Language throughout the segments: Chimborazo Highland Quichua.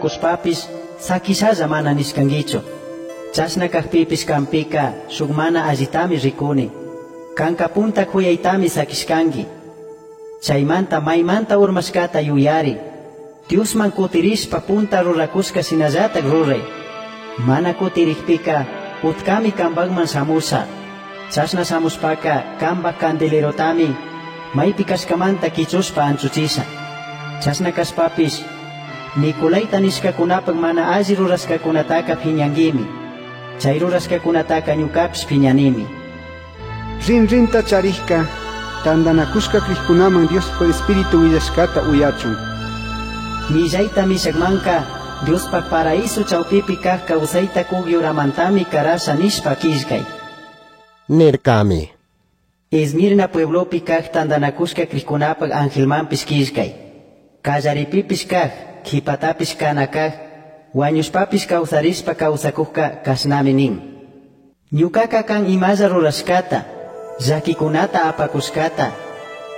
ruracushpapish saquishalla mana nishcanguichu. Chashna cajpipish canpica shuj mana allitami ricuni. Canca punta juyaitami saquishcangui. Chaimanta maimanta urmashcata yuyari. Diosman kutirishpa punta ruracushca shinallataj rurai. Mana kutirikpika utkami cambajman shamusha. Chashna shamushpaca cambaj candelerotami maipi cashcamanta quichushpa anchuchisha. Chashna cashpapish Nicolaita nishcacunapaj mana alli rurashcacunataca piñanguimi. Chay rurashcacunataca ñucapish piñanimi. Rinrinta charijka tandanakushka crijkunaman Diospaj Espíritu willashkata uyachun. Millaita mishakmanka Diospaj paraíso chawpipi kaj kawsayta kuk yuramantami karasha nishpa killkay. Nircami. Esmirna pueblopi kaj tandanakushka crijkunapaj angelmanpish killkay. Kallaripipish kaj, kipatapish kana kaj, wañushpapish kawsarishpa kawsakujka kashnami nin. Ñukaka kan imalla rurashkata, llakikunata apakushkata,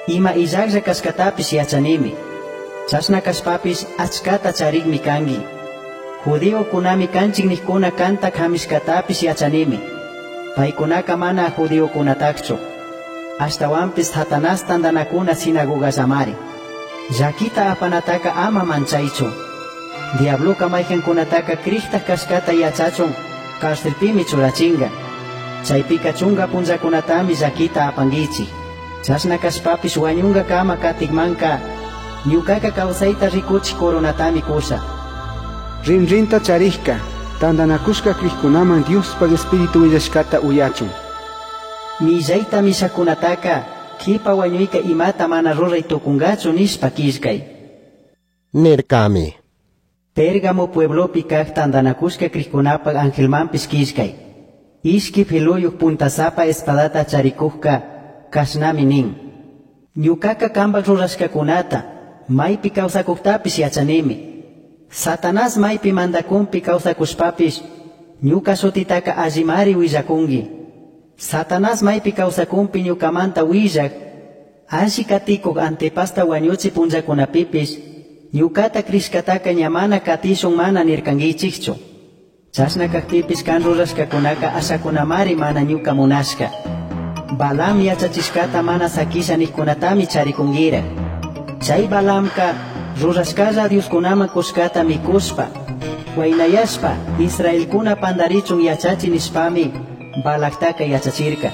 ima illajlla kashkatapish yachanimi. Chashna kashpapish achkata charikmi kanki. Judiokunami kanchik nikkuna kanta kamishkatapish yachanimi. Paykunaka mana judiokunatakchu. Ashtawanpish Satanás tandanakuna sinagogallamari. Llakita apanataka ama manchaychu. Diabloka mayqankunataka crijtaj kashkata yachachun carcelpimi churachinga. Chaypika chunga punllakunatami llakita apankichik. Chashna kashpapish wañunkakama katikmanka ñukaka kawsayta rikuchik coronatami kusha. Rinrinta charijka tandanakushka crijkunaman Diospaj Espíritu willashkata uyachun. Millayta mishakunataka kipa wañuyka imata mana ruray tukungachu nishpa killkay. Nircami. Pérgamo pueblopi kaj tandanakushka crijkunapaj angelmanpish killkay. Ishki filuyuj puntasapa espadata charikujka kashnami nin. Ñukaka kambaj rurashkakunata maypi kawsakujtapish yachanimi. Satanás maypi mandakunpi kawsakushpapish ñuka shutitaka allimari willakunki. Satanás maypi kawsakunpi ñukamanta willak alli katikuj Antipasta wañuchi punllakunapipish ñukata crishkataka ña mana katishun mana nirkankichikchu. Chashna kajpipish kan rurashkakunaka ashakunamari mana ñuka munashka. Balaam yachachishkata mana sakisha nijkunatami charikunkira. Chay Balaamka rurashkalla Dioskunaman kushkata mikushpa, waynayashpa Israelkuna pandarichun yachachi nishpami Balaktaka yachachirka.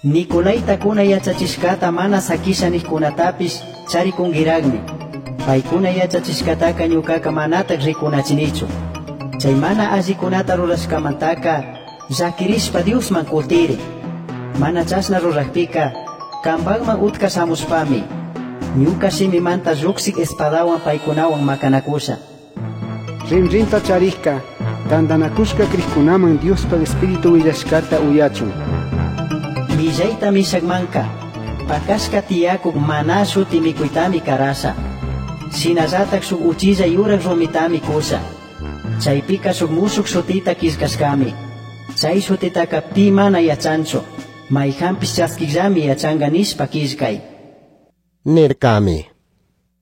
Nicolaitakuna yachachishkata mana sakisha nijkunatapish charikunkiraqmi. Paykuna yachachishkataka ñukaka manatak rikunachinichu. Chay mana allikunata rurashkamantaka llakirishpa Diosman kutiri. Mana chashna rurajpika kambajman utka shamushpami ñuka shimimanta lluksik espadawan paykunawan makanakusha. Rinrinta charijka tandanakushka crijkunaman Diospaj Espíritu willashkata uyachun. Millayta mishakmanka pakashka tiyakuk maná shuti mikuytami karasha. Shinallatak shuk uchilla yurak rumitami kusha. Chaypika shuk mushuk shutita killkashkami. Chay shutitaka pi mana yachanchu. Mayjanpish chaskikllami yachanka nishpa killkay. Nircami.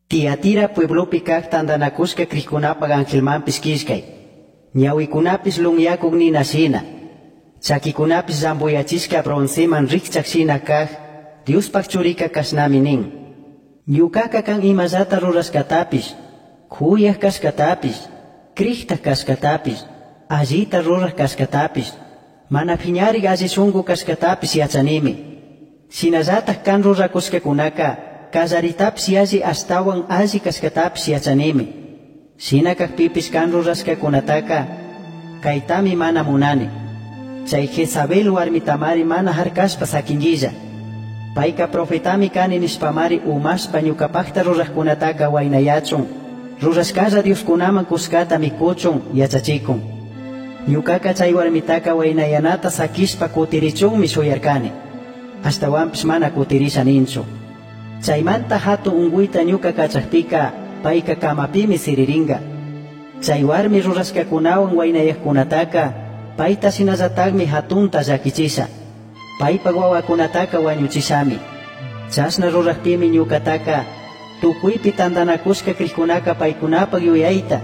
Tiatira pueblopi kaj tandanakushka crijkunapaj angelmanpish killkay. Ñawikunapish lunyakuk nina shina. Chakikunapish llambuyachishka bronceman rikchak shina kaj Diospaj churika kashnami nin. Ñukaka kan imallata rurashkatapish, kuyaj kashkatapish, crijtaj kashkatapish, allita ruraj kashkatapish, mana piñarik alli shunku kashkatapish yachanimi. Shinallataj kan rurakushkakunaka kallaritapish yalli ashtawan alli kashkatapish yachanimi. Shina kajpipish kan rurashkakunataka kaytami mana munani. Chay Jezabel warmitamari mana harkashpa sakinguilla. Payka profetami kani nishpamari umashpa ñukapajta rurajkunataka waynayachun, rurashkalla Dioskunaman kushkata mikuchun yachachikun. Ñukaka chay warmitaka waynayanata sakishpa kutirichunmi shuyarkani. Ashtawanpish mana kutirisha ninchu. Chaymanta hatun unkuyta ñuka kachajpika payka kamapimi siriringa. Chay warmi rurashkakunawan waynayajkunataka payta shinallatakmi hatunta llakichisha. Paypaj wawakunataka wañuchishami. Chashna rurajpimi ñukataka tukuypi tandanakushka crijkunaka paykunapaj yuyayta